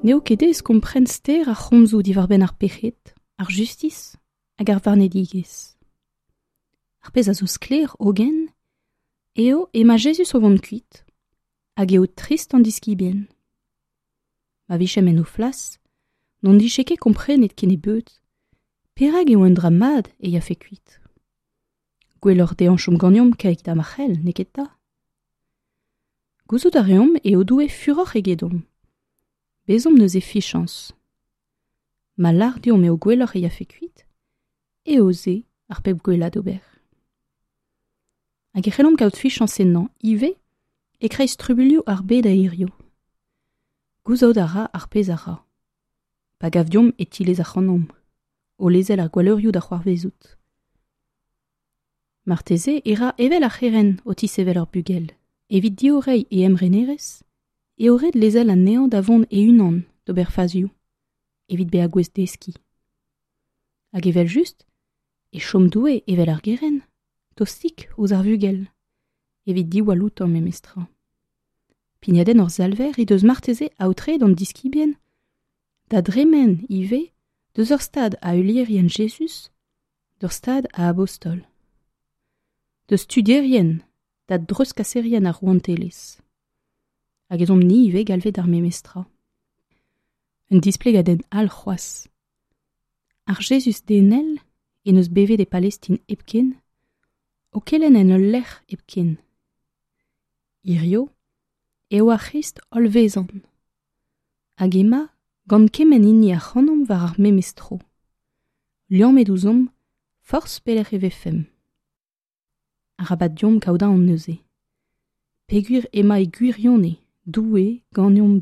N'eo ket aes kompren ster ar c'homzoù diwar-benn ar pec'hed, ar justis hag ar varnedigezh. Ar pezh a zo sklaer hogen eo emañ Jezuz o vont kuit hag eo trist an diskibien. Ma vijemp en o flas, n'hon dije ket komprenet kennebeut perak eo un dra mat e yafe kuit. Gwelloc'h dezhañ chom ganeomp keit ha ma c'hell, n'eo ket 'ta? Gouzout a reomp eo Doue furoc'h egedomp. Bezomp neuze fichañs. Ma lâr deomp eo gwelloc'h e yafe kuit, eo se ar pep gwellañ d'ober. Hag e c'hellomp kaout fichañs ennañ ivez e-kreiz trubuilhoù ar bed a hiziv. Gouzout a ra ar pezh a ra. Pa gav deomp e tilez ac'hanomp, o lezel ar gwalleurioù da c'hoarvezout. Marteze e ra evel ar c'herent o tisevel ur bugel. Evit diorreiñ e emrenerezh eo ret lezel anezhañ da vont e-unan d'ober fazioù evit bezañ gouest deskiñ. Hag evel-just e chom Doue evel ar gerent, tostik ouzh ar vugel, evit diwall outañ memestra. Pignadenn hor Salver he deus marteze aotreet an diskibien da dremen ivez deus ur stad a heulierien Jezuz d'ur stad a abostol. Deus studierien da dreuzkaserien ar rouantelezh. Hag ez omp-ni ivez galvet d'ar memes tra. Un displegadenn all c'hoazh. Ar Jezuz denel en deus bevet e Palestin hepken, o kelenn en ul lec'h hepken. Hirio eo ar C'hrist hollvezant. Hag ema gant kement hini ac'hanomp war ar memes tro. Liammet ouzhomp forzh pelec'h e vefemp. Arabat deomp kaout aon neuze. Peogwir emañ e gwirionez Doue ganeomp.